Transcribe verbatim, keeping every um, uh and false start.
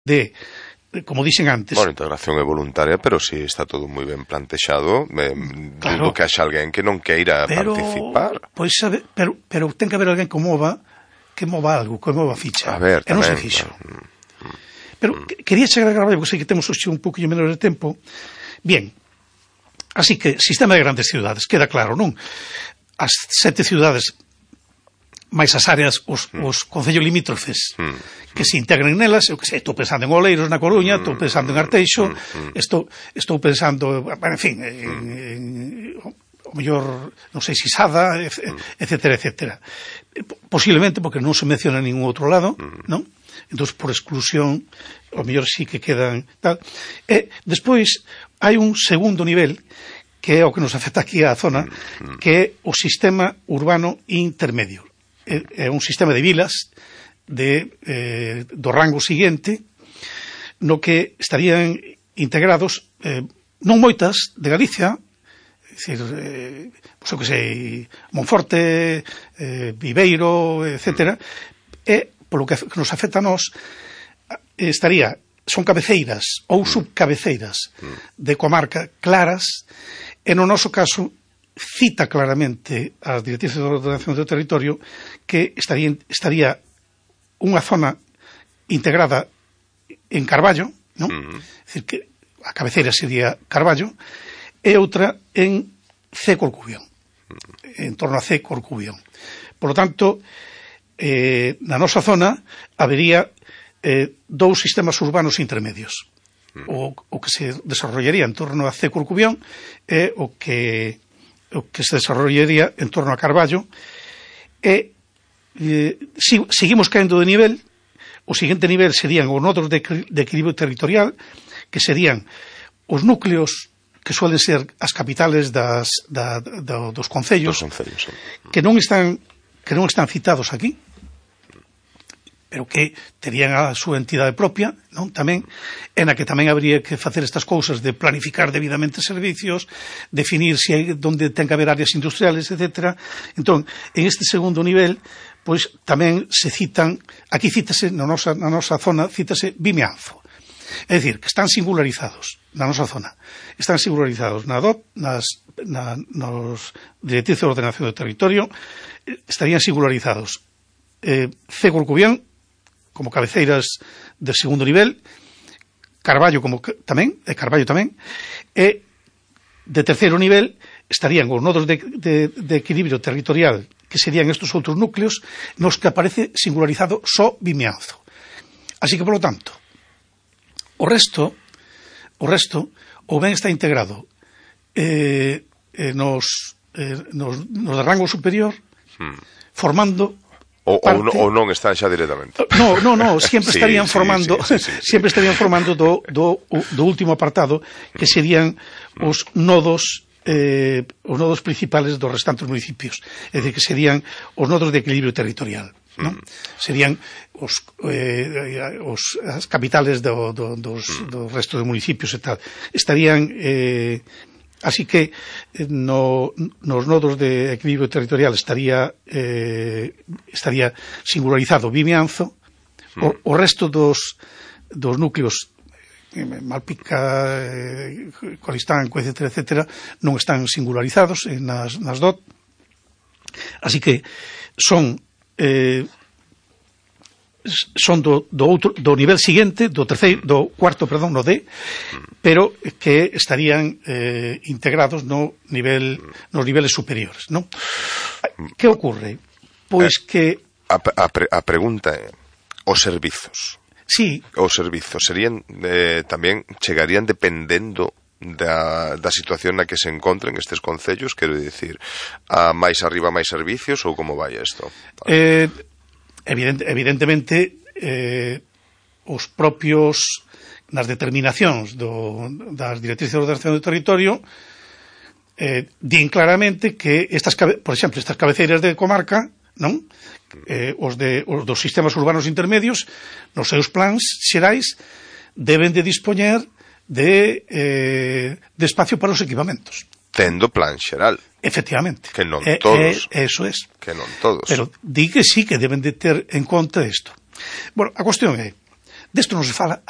de, como dixen antes... Bueno, a integración é voluntaria, pero si está todo moi ben plantexado, eh, claro, dudo que haxa alguén que non queira pero, participar. Pois, sabe, pero, pero ten que haber alguén que mova, que mova algo, que mova ficha. A ver, e non se fixo. Mm, mm, pero mm. quería chegar a gravar, porque sei que temos hoxe un pouquinho menos de tempo. Bien, así que, sistema de grandes ciudades, queda claro, non? As sete ciudades... máis as áreas, os, mm. os concellos limítrofes mm. que se integren nelas. Eu que sei, estou pensando en Oleiros na Coruña, estou pensando en Arteixo, mm. estou, estou pensando, bueno, en fin, en, en, o mellor, non sei, Sisada, etcétera, etcétera. Posiblemente porque non se menciona en ningún outro lado, mm. non? Entón, por exclusión, o mellor sí que quedan tal. E despois hai un segundo nivel que é o que nos afecta aquí á zona, mm. que é o sistema urbano intermedio. É un sistema de vilas de, eh, do rango siguiente no que estarían integrados eh, non moitas de Galicia, é dicir, eh, pois, que sei, Monforte, eh, Viveiro, etcétera, e polo que nos afecta a nós estaría, son cabeceiras ou subcabeceiras de comarca claras, e no noso caso cita claramente as directrices de ordenación do territorio que estaría, estaría unha zona integrada en Carballo, non? Uh-huh. É dicir, que a cabeceira sería Carballo, e outra en C. Corcubión, uh-huh. en torno a C. Corcubión. Por lo tanto, eh, na nosa zona habería eh, dous sistemas urbanos intermedios. Uh-huh. O, o que se desarrollaría en torno a C. Corcubión e o que o que se desarrollaría en torno a Carballo, e eh, si, seguimos caendo de nivel. O seguinte nivel serían os nodos de, de equilibrio territorial, que serían os núcleos que suelen ser as capitales das, da, da, dos concellos, dos concellos sí. que non están que non están citados aquí, pero que terían a súa entidade propia, non? Tamén, en a que tamén habría que facer estas cousas de planificar debidamente servicios, definir se hai, donde ten que haber áreas industriales, etcétera. Entón, en este segundo nivel, pois tamén se citan, aquí cítase, na nosa, na nosa zona, cítase Vimianzo. É dicir, que están singularizados na nosa zona. Están singularizados na D O T, nas, na, nos directrices de ordenación do territorio, estarían singularizados eh, C. Corcubión, como cabeceiras de segundo nivel, Carballo como tamén, e Carballo tamén, e de terceiro nivel estarían os nodos de, de, de equilibrio territorial, que serían estes outros núcleos, nos que aparece singularizado só Vimianzo. Así que, por lo tanto, o resto, o resto, ou ben está integrado eh, eh, nos, eh, nos, nos de rango superior, hmm. formando O, ou, no, ou non están xa directamente. No, no, no, sempre estarían sí, formando sí, sí, sí, sí. sempre estarían formando do, do, do último apartado, que serían os nodos eh, os nodos principales dos restantes municipios, é dicir, que serían os nodos de equilibrio territorial, non? Serían os, eh, os as capitales do, do, dos, dos restos de municipios e tal. Estarían eh, así que no, nos nodos de equilibrio territorial estaría eh, estaría singularizado Vimianzo, mm. o, o resto dos, dos núcleos eh, Malpica, eh, Coristanco, etcétera, etcétera, non están singularizados eh, nas, nas D O T. Así que son eh, son do, do, outro, do nivel seguinte, do terceiro, do cuarto, perdón, no D, pero que estarían eh, integrados no nivel, nos niveles superiores, non? Que ocorre? Pois que... A, a, a pregunta é, os servizos. Sí. Os servizos serían, eh, tamén chegarían dependendo da, da situación na que se encontren estes concellos, quero dicir, a máis arriba máis servicios, ou como vai isto? Eh... Evident, evidentemente eh, os propios nas determinacións do, das directrices de ordenación do territorio eh, din claramente que estas, por exemplo, estas cabeceiras de comarca, non? Eh, os, de, os dos sistemas urbanos intermedios nos seus plans xerais deben de dispoñer de, eh, de espacio para os equipamentos. Tendo plan xeral. Efectivamente. Que non eh, todos. Eh, eso es. Que non todos. Pero di que sí que deben de ter en conta isto. Bueno, a cuestión é, desto non se fala